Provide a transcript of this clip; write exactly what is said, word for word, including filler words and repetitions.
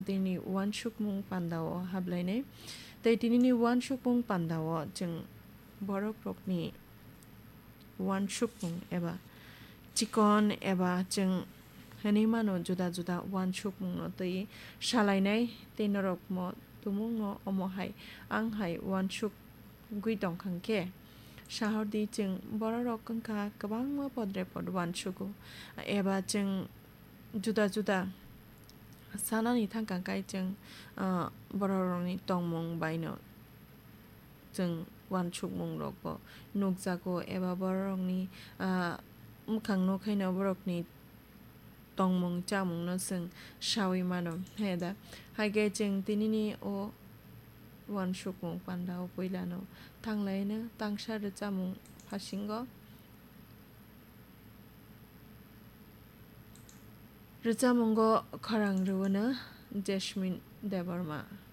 tini uansukmung pandao hablainai. Tei tinini uansukmung pandao chwng borokrokni uansukmung eba chikon eba chwng hwnwi mano juda juda uansukmungno twi salainai tei norokmo tumungno omo hai ang hai uansukgwi tongkha hwnkhe sahordi chwng bororok wngkha kwbangma podre pod uansugo eba chwng juda juda sanani thangkha khe chwng, ah, bororokni tongmung baino chwng uansukmungrokbo nukjago eba bororokni, ah, mwkhang nukhaino borokni tongmung chamungno chwng saui mano, he da? Hai khe chwng tinini o uansukmung pandao puilano thanglaino tangsa rwchapmung phasingo. Rwchapmungo khorang rwuno Jasmine Debbarma.